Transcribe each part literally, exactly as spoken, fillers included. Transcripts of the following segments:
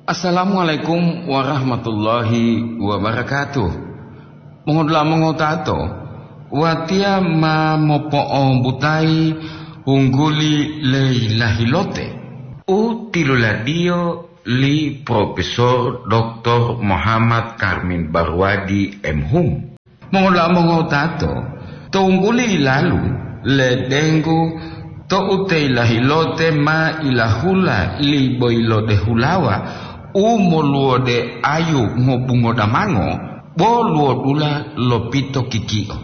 Assalamualaikum warahmatullahi wabarakatuh. Mongodula'a mongotato, watiya ma mopo'ombutayi hungguli Leilahilote u tiluladiyo li Profesor Doktor Muhammad Karmin Barwadi, M Hum. Mongola mongotato, to wungguli yilalu, ledenggu to'u te yilahilote ma ilahula li boyilode hulawa u moluwode ayu ngobungo damango, bo luwodula lopito kiki'o.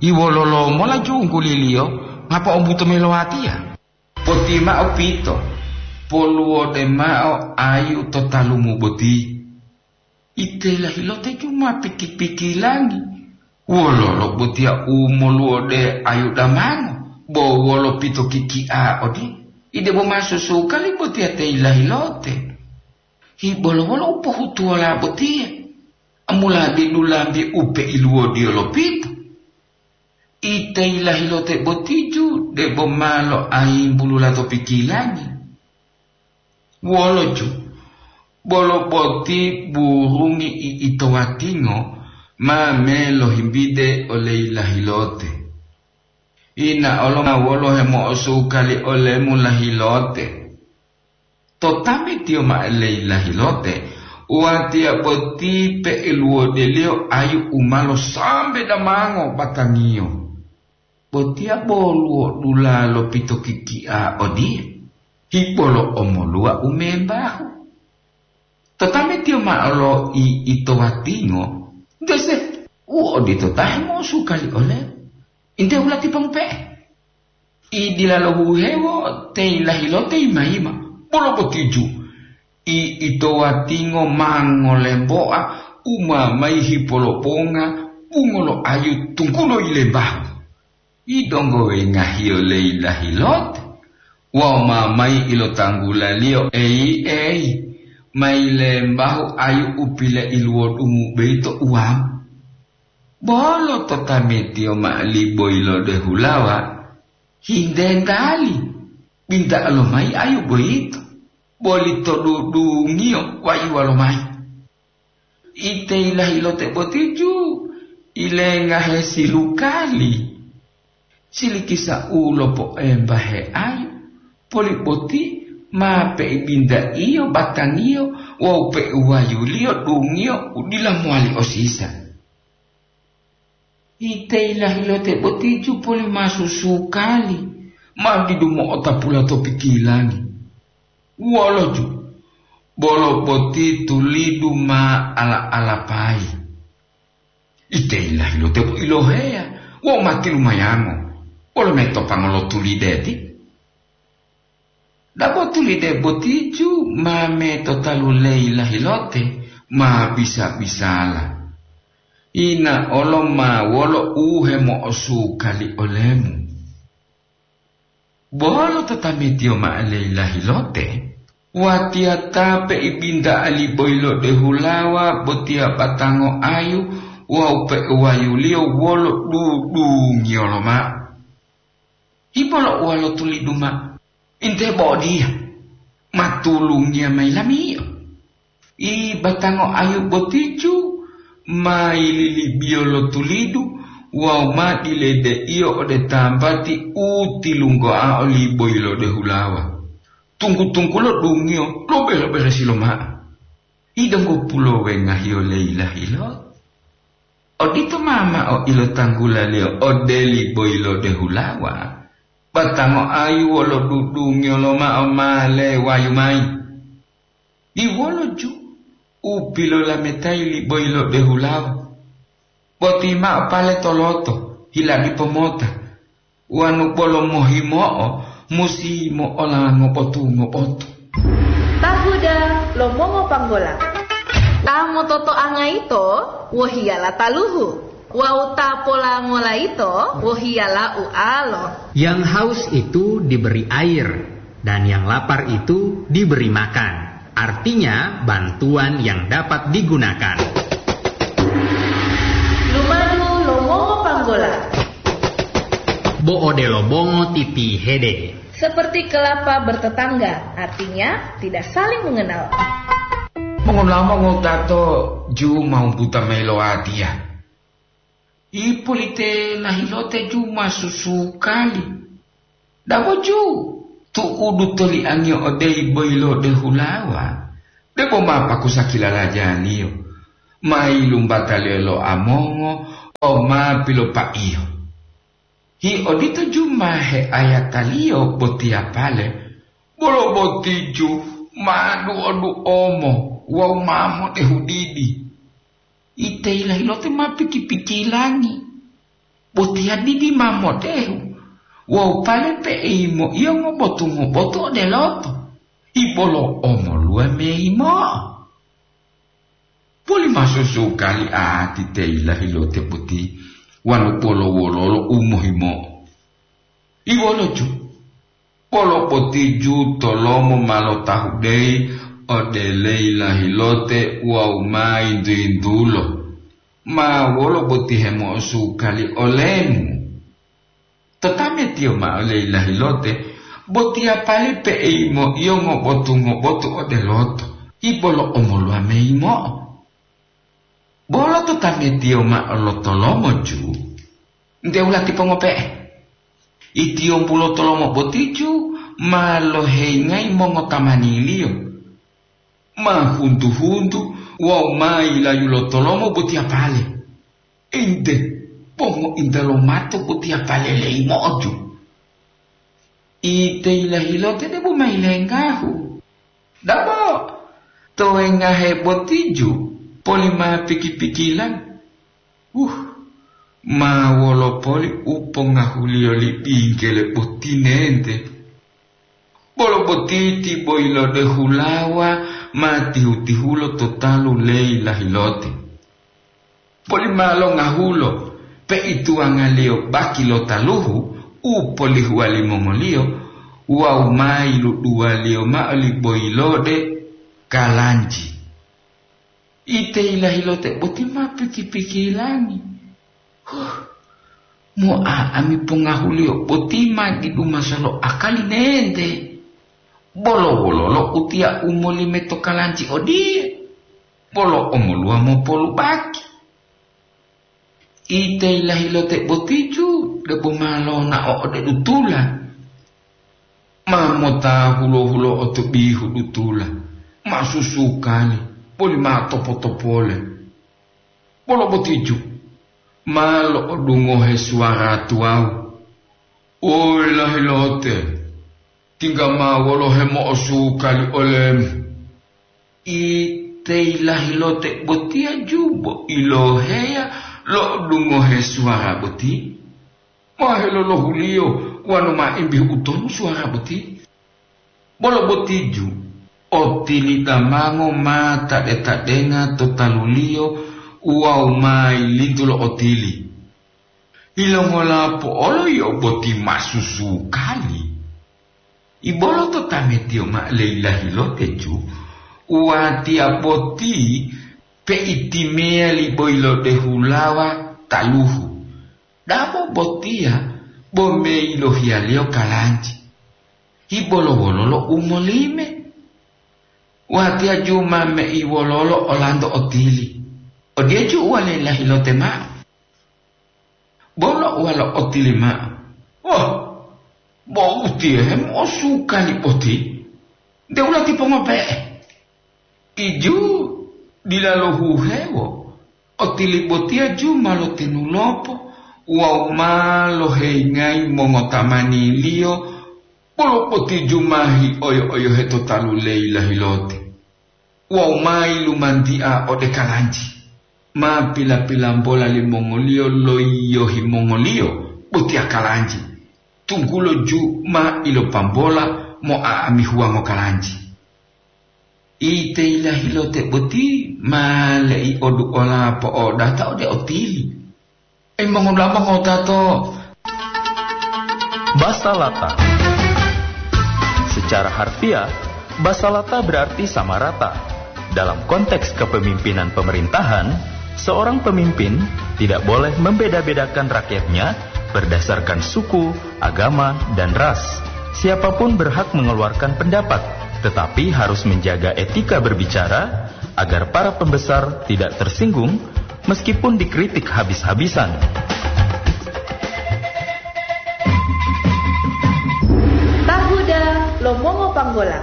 Iwololo mola jungguliliyo ma po'ombuto mayi lo watiya? Poti mao pito, poluwode mao ayu to talumu boti. Ite lahilote ju ma piki-pikilangi. Wololo botiya u moluwode ayu damango, bo wolo pito kiki'a odi? Ide bo ma susukali botiya te lahilote. Hibolo wolo u pohutuwola botiye? Amula didu lambi u peiluwodiyo lopito. Ite yilahilote botiju debo ma loayimbulula to pikilangi. Woloju, bolo boti burungi i'itowatingo ma melohimbide ole yilahilote. Ina olo ma wolo hemo'osukali olemu lahilote. To tametiyo ma'o leyi lahilote, watiya boti pe'eluwodeliyo ayu u ma losambe damango batangiyo. Botiya bo luwodula lopito kiki'a odiye, hibolo omoluwa u membahu. To tametiyo ma'o lo i'itowatingo, dese u odito ta hemo'osukali olemu. Inte hulati pongupe'e. I dila lohuhewo te yilahilote yima-yima, bolo botiju. I itowatingo ma ngolemboa u ma mayi hipolobonga bungo lo ayu tunggulo yilembahu. I donggo wengahiyo le yilahilote wawu ma mayi ilotanggulaliyo eyi-eyi mayi lembahu ayu u pileiluwodungu boyito uwamu. Bolo to tametiyo ma'o li boyilode hulawa, hintentali, binta'o lomayi ayu boyito, boli to dudungiyo wayuwa lomayi. Ite yilahilote botiju ilengahe silukali. Silikisa u lopoembahe ayu, poli boti ma peibintaiyo batangiyo wawu peuwayuliyo dungiyo u dila mowali osisa. Ite yilahilote botiju poli ma susukali, ma didu mo'otapula to pikilangi. Woloju, bolo boti tulidu ma ala-alapayi. Ite yilahilote bo iloheya wawu ma tilumayango, wolo metopango lo tulide ti? Dabo tulide botiju ma metotalu leyi lahilote ma bisa-bisala. Ina olo ma wolo u hemo'osukali olemu. Bolo to tametiyo ma'o leyi lahilote, watiya ta peibinta'a li boyilode hulawa botiya batango ayu wawu peuwayuliyo wolo dudungiyo lomao. Hibolo uwa lo tulidu mao, inte bo odiya, ma tulungiya mayi lamiyo. I batango ayu botiju ma yililibiyo lo tulidu wawu ma diledeiyo ode tambati u tilunggoa oli boyilode hulawa. Tunggu-tunggulo dungiyo lobe-loberesi lomao. I donggo pulowengahiyo leyi lahilo. Odito ma mao ilotanggulaliyo ode li boyilode hulawa. Batango ayu wolo dudungiyo lomao ma lewayu mayi. Diwolo ju u pilolametayi li boyilode hulawa. Boti mao pale toloto, hiladipo mota. Wanu bolo mohimo'o musi mo'ola ngobotu-ngobotu. Tahuda lo mongopanggola. Ta mototoanga yito wohiyala taluhu, wawu ta polangola yito wohiyala ualo. Yang haus itu diberi air, dan yang lapar itu diberi makan. Artinya, bantuan yang dapat digunakan. Lumadu lo mongopanggola. Bo odelo bongo titihede. Seperti kelapa bertetangga, artinya tidak saling mengenal. Mongonamo ngotato Ju ma umbuta mayi lo watiya. Ipolite lahilote Ju ma susukali. Dabo Ju, tu'udu toliangiyo ode iboyilode hulawa, debo ma pakusa kilalajaliyo, ma yilumbataliyo lo amongo wawu ma pilopaiyo. Hi odito Ju ma heayataliyo botiyapale, bolo boti Ju ma duo-duomo wawu ma modehudidi. Ite yilahilote ma piki-pikilangi, botiya didi ma modehu, wawu pale pe'eyi moiyo ngobotu-ngobotu ode loto, ibolo omoluwa meyimo'o. Poli ma susukali ati te yilahilote boti, wanu bolo wololo u mohimo'o. Iwolo Ju, bolo boti Ju tolomo ma lotahudeyi ode le yilahilote wawu ma yintu-yintulo, ma wolo boti hemo'osukali olemu. Totametiyo ma'o le yilahilote, botiya pali pe'eyi moiyo ngobotu-ngobotu ode loto, ibolo omoluwa meyimo'o. Bolo totametiyo ma'o lo tolomo Ju, nte wulati pongope'e. Itiyombu lo tolomo boti Ju ma lohengayi mongotamaniliyo, ma huntu-huntu wawu ma yilayu lo tolomo botiyapale. Ente, pongointa lomato botiyapale leyimo'o Ju. Ite yilahilote debo ma yilengahu. Dabo, to wengahe boti Ju, poli ma piki-pikila. Uh, ma wolo poli u pongahuliyo li bingkele boti nente. Bolo boti ti boyilode hulawa ma tihu-tihulo to talu le yilahilote. Poli ma longahulo, peituwangaliyo baki lo taluhu u polihuwa limongoliyo, wawu ma yiluduwaliyo ma'o li boyilode kalanji. Ite yilahilote boti ma piki-pikilangi. Huh, mo'a'ami pongahuliyo boti ma didu masalo akali nente. Bolo wololo utiya u molime to kalanji odiye? Bolo omoluwa mopolubaki. Ite yilahilote boti Ju debo ma lonao ode dutula. Ma mota hulo-hulo'o to bihu dutula, ma susukali, boli ma topo-topole. Bolo boti Ju, ma lo'odungohe suwara tuwawu, "Oyi lahilote, tingga ma wolo hemo'osukali olemu." Ite yilahilote botiya Ju bo iloheya lo'odungohe suwara boti, ma helolohuliyo wonu ma imbihu utonu suwara boti. Bolo boti Ju, otili damango ma tade-tadenga to taluliyo wawu ma yilintu lo otili. "Yilongola po'olo yio boti ma susukali?" Ibolo to tametiyo ma'o le yilahilote Ju, "Watiya boti peitimeya li boyilode hulawa taluhu. Dabo botiya bo meyilohiyaliyo kalanji. Hibolo wololo u molime? Watiya Ju ma mei wololo olanto otili?" Odiye Ju uwa le yilahilote ma'o. Bolo uwa lo otili ma'o, "Oh, bo utiye hemo'osukali boti, nte wulati pongope'e." Iju dila lohuhewo, otili botiya Ju ma lotenulopo wawu ma loheyingayi mongotamaniliyo, bolo boti Ju ma hioyo-oyohe to talu le yilahilote. Wawu ma yilumantia ode kalanji, ma pila-pilambola limongoliyo loyiyohi mongoliyo botiya kalanji, tunggulo Ju ma ilopambola mo'a'amihuwa ngokalanji. Ite yilahilote boti ma lei'oduola po'odata ode otili. Ei, mongulama ngotato. Basalata. Secara harfiah, basalata berarti sama rata. Dalam konteks kepemimpinan pemerintahan, seorang pemimpin tidak boleh membeda-bedakan rakyatnya berdasarkan suku, agama, dan ras. Siapapun berhak mengeluarkan pendapat, tetapi harus menjaga etika berbicara, agar para pembesar tidak tersinggung meskipun dikritik habis-habisan. Tahuda lo mongo panggola.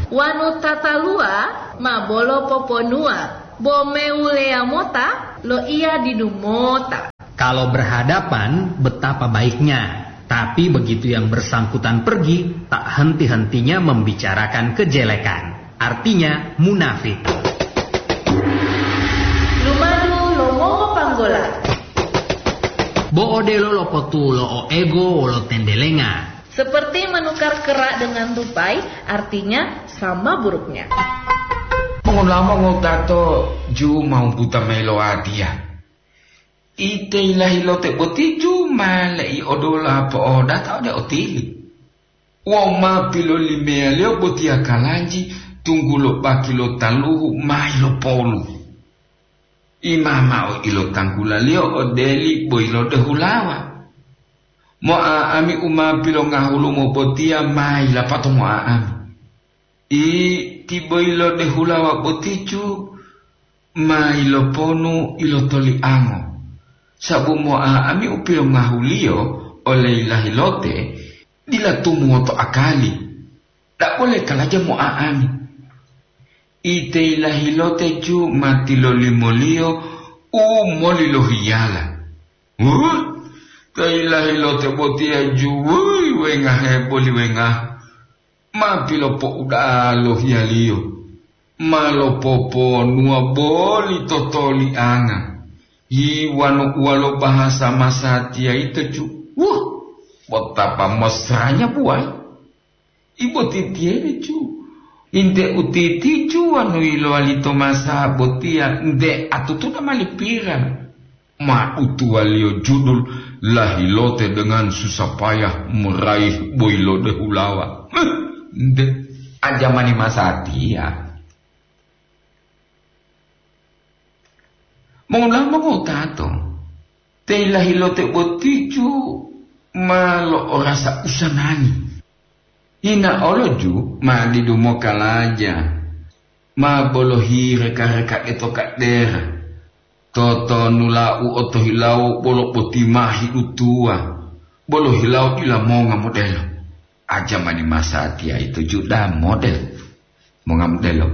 Wanu tataluwa ma bolo poponuwa, bo mewuleya mota lo iya didu mota. Kalau berhadapan, betapa baiknya. Tapi begitu yang bersangkutan pergi, tak henti-hentinya membicarakan kejelekan. Artinya, munafik. Lumadu lo mongo panggola. Bo odelo lopotulo o ego wolo tendelenga. Seperti menukar kerak dengan tupai, artinya sama buruknya. Mongolamo ngotato ju mau buta melo adia. Ite ilahilote boti ju ma le'i odola po'odata ode otili. Wawu ma pilolimeyaliyo botiya kalanji tunggulo baki lo taluhu ma ilopolu. Imamao ilotanggulaliyo odeli boyilode hulawa. Mo'a'ami u ma pilongahulumo botiya ma yilapato mo'a'ami. Iti boyilode hulawa boticu ma yiloponu ilotoliango, sabu mo'a'ami u pilongahuliyo ole yilahilote dila tumuwoto akali, da'bole kalaja mo'a'ami. Ite yilahilote ju ma tilolimoliyo u molilohiyala. Huh? Te yilahilote botiya ju, wuy, wengahe boli wengahu. Ma pilopo'uda'a lo hiyaliyo, ma lopoponuwa boli totolianga. Yi wanu uwalo bahasa masatiya yito ju, wuh, botapa mosranya buwayi. Ibo titiyele ju, inte utiticu wanu yilowali to masa botiya nte atutuna mali pira. Ma utuwaliyo judul lahilote dengan susah payah meraih boyilode hulawa. Huh, nde, ajamani masatiya. Mongolama ngotato, te lahilote boticu ma lo orasa usanangi. Hina oloju ma didu mokalaja, ma bolohi reka-reka eto kadera. Totonula'u otohilawo bolo botimahi utuwa, bolo hilawo dila monga modelo. Ajamani masatiya ito juda model, monga modelo.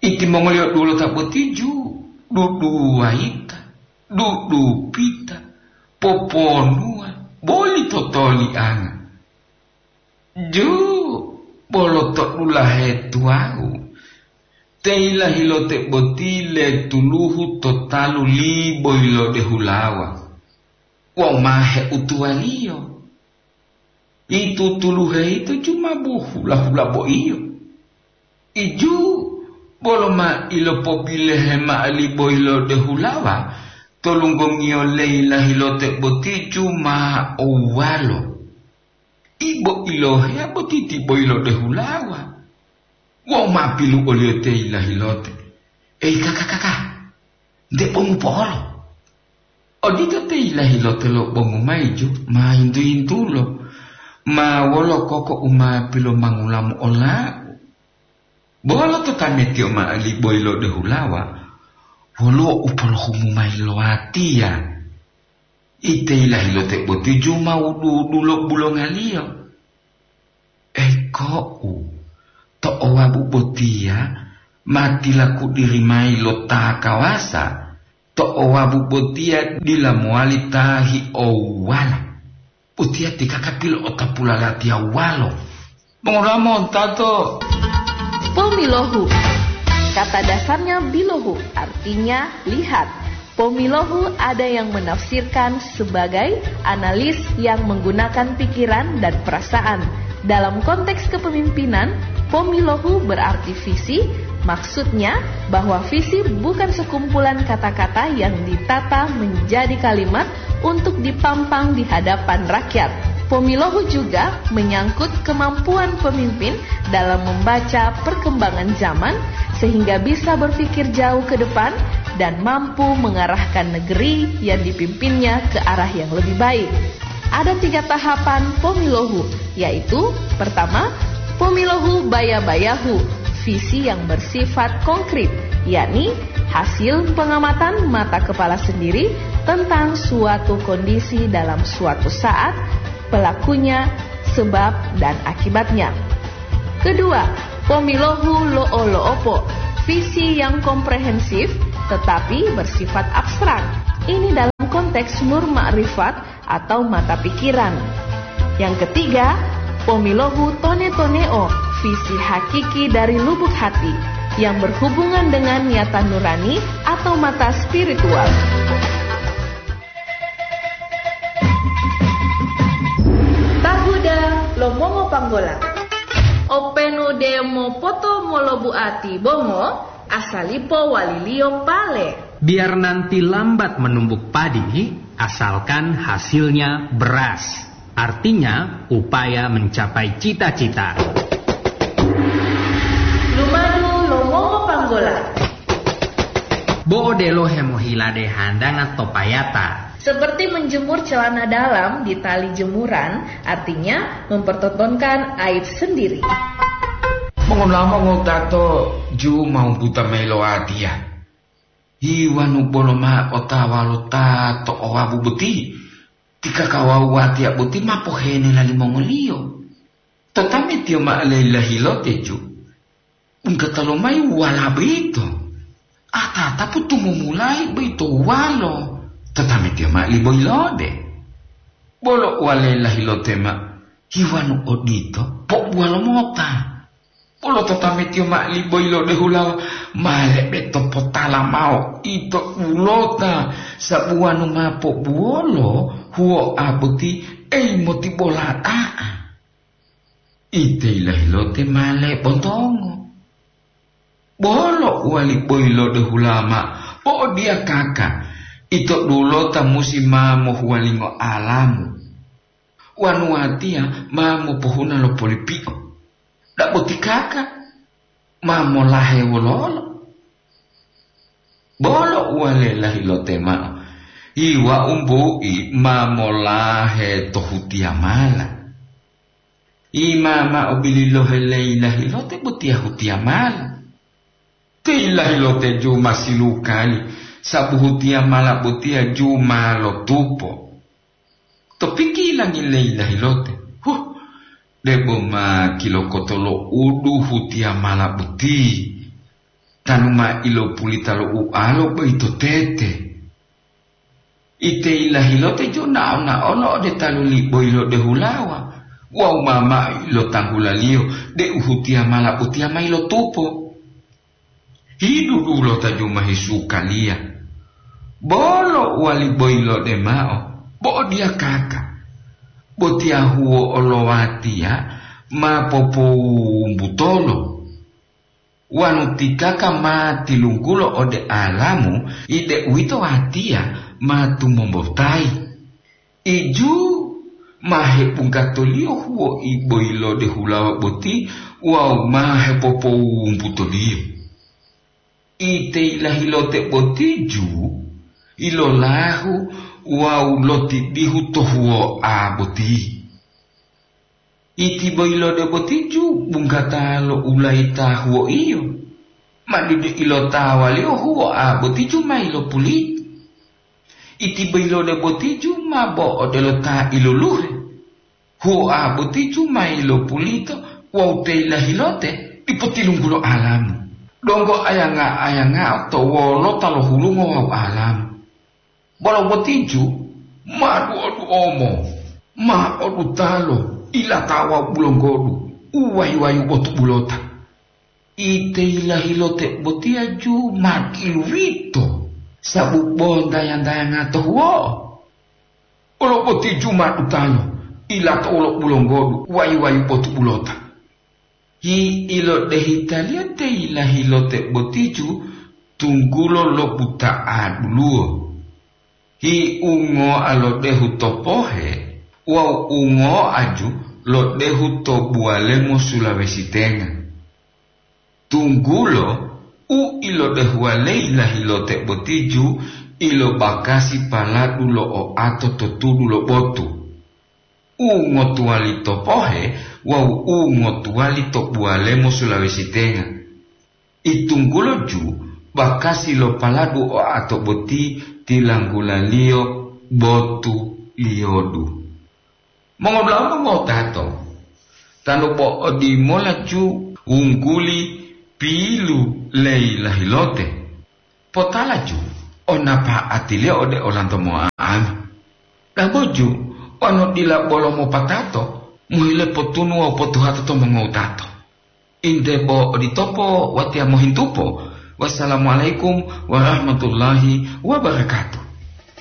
Itimongoliyo dulota botiju, duduwayita, dudupita, poponuwa, boli totolianga. Ju, bolo to dulahe tuwawu, te yilahilote boti letuluhu to talu liboyilode hulawa wawu ma heutuwaliyo. Itutuluhe yito ju ma bohula-hula boiyo. Iju bolo ma ilopobilehe mao liboyilode hulawa to lunggongiyo le yilahilote boti ju ma owuwalo. Ibo iloheya boti ti boyilode hulawa. Wawu ma pilu oliyo te yilahilote, "Eyi kaka-kaka, nte bongu po'olo." Odito te yilahilote lo bongu mayi ju ma yintu-yintulo, ma wolo koko u ma pilomangulamu olau. Bolo to tametiyo mao li boyilode hulawa, woluwo u polohumu mayi lo watiya. Ite yilahilote boti ju ma wudu-wudulo bulongaliyo. Eko'u, to owabu botiya ma tilakudiri mayi lo ta kawasa, to owabu botiya dila mowali ta hi'owuwala. Botiya ti kaka pilo'otapula latiyawuwalo. Mongolamo tato. Pomilohu. Kata dasarnya bilohu, artinya lihat. Pomilohu ada yang menafsirkan sebagai analis yang menggunakan pikiran dan perasaan. Dalam konteks kepemimpinan, pomilohu berarti visi, maksudnya bahwa visi bukan sekumpulan kata-kata yang ditata menjadi kalimat untuk dipampang di hadapan rakyat. Pomilohu juga menyangkut kemampuan pemimpin dalam membaca perkembangan zaman sehingga bisa berpikir jauh ke depan dan mampu mengarahkan negeri yang dipimpinnya ke arah yang lebih baik. Ada tiga tahapan pomilohu, yaitu pertama, pomilohu baya-bayahu, visi yang bersifat konkret, yakni hasil pengamatan mata kepala sendiri tentang suatu kondisi dalam suatu saat, pelakunya, sebab, dan akibatnya. Kedua, pomilohu lo'o-lo'opo, visi yang komprehensif tetapi bersifat abstrak. Ini dalam konteks nur makrifat atau mata pikiran. Yang ketiga, pomilohu tone-toneo, visi hakiki dari lubuk hati yang berhubungan dengan niatan nurani atau mata spiritual. Tahuda lo mongo panggola. Openu de mopoto molobuati bongo, asalipo waliliyo pale. Biar nanti lambat menumbuk padi, asalkan hasilnya beras. Artinya, upaya mencapai cita-cita. Lumadu lo mongo panggola. Bo'o delo hemohilade handanga to payata. Seperti menjemur celana dalam di tali jemuran, artinya mempertontonkan aib sendiri. Mongonamo ngotato ju mau buta mayi lo watiya. Hiwanu bolo ma otawa lo ta to owabu boti, ti kakawawu watiya boti ma pohene lalimongoliyo. Totametiyo ma'o leilahilote ju, wungkata lomayi wala boyito. Atatapu tumumulayi boyito walo, totametiyo ma'o liboyilode. Bolo uwale lahilote ma, hiwanu odito, po'ubuwalo mota. Bolo totametiyo ma'o liboyilode hulawa, ma lebe to potala mao ito dulota, sabuwanu ma po'ubuwolo huwo'a boti eyi motibola da'a. Ite ilahilote ma lebontongo. Bolo uwali boyilode hulama, po'odiyakaka, ito dulota musi ma mohuwalingo alamu. Wanu watiya ma mopohuna lo polipi'o. Dabo tikaka, ma molahe wololo. Bolo uwale lahilote ma'o, iwa umbu'i ma molahe to hutiyamala. Ima ma'o bililohe leilahilote botiya hutiyamala. Te ilahilote ju ma silukali, sabu hutiyamala botiya ju ma lotupo. To pikilangi leilahilote, huh, debo ma kilokoto lo udu hutiyamala boti, tanu ma ilopulita lo ualo boyito tete. Ite ilahilote ju nao-naolo ode talu liboyilode hulawa wawu ma mao ilotanggulaliyo deu hutiyamala botiya ma ilotupo. Hidu dulota ju ma hisukaliya. Bolo uwali boyilode mao, bo'odiyakaka. Botiya huwo olowatiya ma popowumbutolo. Wanu tikaka ma tilunggulo ode alamu, ide uwito watiya ma tumombotayi. Iju ma hepunggatoliyo huwo'i boyilode hulawa boti wawu ma hepopowumbutoliyo. Ite ilahilote boti ju ilolahu wawu lotidihu to huwo'a boti. Iti boyilode boti ju bunggata lo ulayita huwo'iyo, ma didi ilotawaliyo huwo'a boti ju ma ilopulito. Iti boyilode boti ju ma bo odelo ta iloluhe. Huwo'a boti ju ma ilopulito wawu te ilahilote dipo tilunggulo alamu. Donggo ayanga-ayangao to wolota lo hulungo wawu alamu. Bolo boti ju ma duo-duomo, ma odutalo, ilatawa bulonggodu, uwayu-wayu botu bulota. Ite ilahilote botiya ju ma kiluvito, sabu bo ntaya-ntayanga to huwo'o. Olo boti ju ma dutalo, ilato wolo bulonggodu, wayu-wayu botu bulota. Hi ilodehitaliya te ilahilote boti ju tunggulo lo buta'a duluwo. Hi ungo'a lo dehu to pohe wawu ungo'a ju lo dehu to buwalemo Sulawesi Tenga. Tunggulo u ilodehuwa leyi lahilote boti ju ilobakasi paladu lo oato to tudu lo botu, u ngotuwali to pohe wawu u ngotuwali to buwalemo Sulawesi Tenga. Itunggulo ju bakasi lo paladu oato boti tilanggulaliyo botu liyodu. Mongodulahu mongotato, tanu po'odimola ju wungguli pilu leyilahilote. Potala ju o napa'atiliyo ode olanto mo'a'ami. Dabo ju wonu dila bolo mopatato, mohile potunu wawu potuhato to mongowutato. Inte bo oditopo watiya mohintupo. Wassalamualaikum warahmatullahi wabarakatuh.